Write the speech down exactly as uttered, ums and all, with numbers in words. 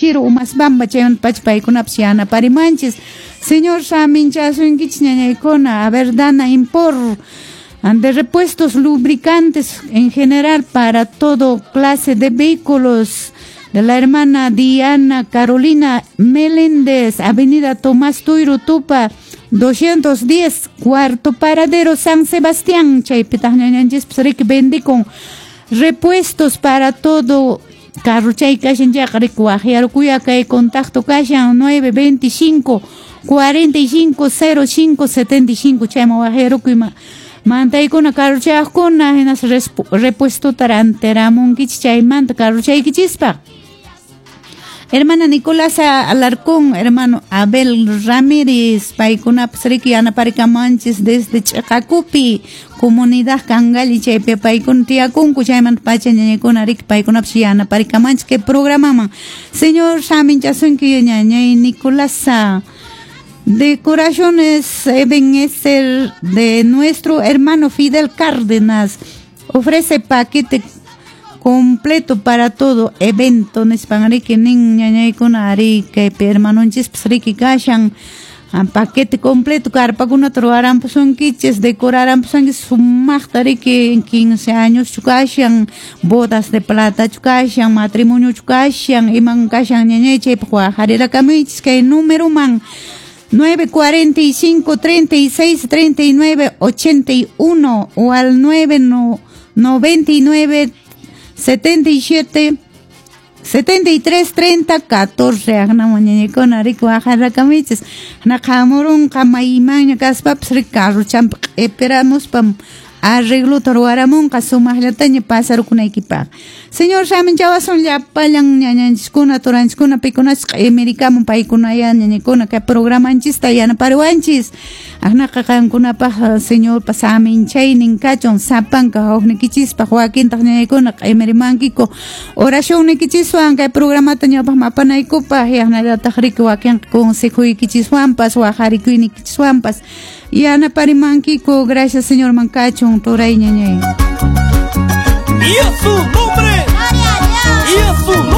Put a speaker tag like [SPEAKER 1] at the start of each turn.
[SPEAKER 1] Giro Umasbamba chaymanta pacha paykunapas yanaparimanchis. Señor saminchasunkichis ñañaykuna. A ver, Dana Impor de repuestos lubricantes en general para todo clase de vehículos, de la hermana Diana Carolina Meléndez, Avenida Tomás Tuiro Tupa, doscientos diez, cuarto paradero, San Sebastián. Chaypitaq ñañanchispas riki vendikun repuestos para todo carro chay kashan chayqa riki waqyarukuya kay contacto kashan nueve veinticinco cuarenta y cinco cero cinco setenta y cinco chayman waqyarukuy mantaykuna carrochayaqkuna hinas repuestota rantiramunkichis chaymanta carrochaykichispaq. Hermana Nicolasa Alarcón, hermano Abel Ramírez, paykunapas riki yanaparikamanchis desde Ch'aqakupi, comunidad Cangalli, chaypi paykuna tiyakunku, chaymanta pacha ñañaykuna riki paykunapas yanaparikamanchis kay programaman. Señor saminchasunki ñañay Nicolasa. Decoraciones Ebenezer de nuestro hermano Fidel Cárdenas ofrece paquete completo para todo evento nispan riki nin ñañaykuna ari kaypi hermanonchispas riki kashan paquete completo carpakunata ruwarampusunkichis decorarampusunkichis sumaqta riki quince años kashan bodas de plata kashan matrimonio kashan iman kashan ñañay chaypaq waqharirakamunchis kay número man nueve cuarenta y cinco treinta y seis treinta y nueve ochenta y uno o al nueve noventa y nueve setenta y siete setenta y tres treinta catorce. Aqnaman ñañaykuna riki waqharakamunchis naqhamurunqa maymanña kaspapas riki carrochanpi q'ipiramuspam arreglota ruwaramunqa sumaqllataña pasarukunaykipaq. Señor saminchawasun llapallan ñañanchiskuna turanchiskuna pikunachis q'imirikamun paykunaya ñañaykuna kay programanchista yanapariwanchis. Aqnaqa qankunapaq Señorpa saminchaynin kachun sapanka huknikichispaq wakintaq ñañaykuna q'imirimankiku oracionnikichiswan kay programata ñawpaqman apanaykupaq yaqnallataq riki wakinqa consejoykichiswanpas waqharikuynikichiswanpas yanaparimankiku. Gracias Señor man kachun turay ñañay.
[SPEAKER 2] Y a su nombre.
[SPEAKER 3] Gloria a Dios.
[SPEAKER 2] Y a su nombre.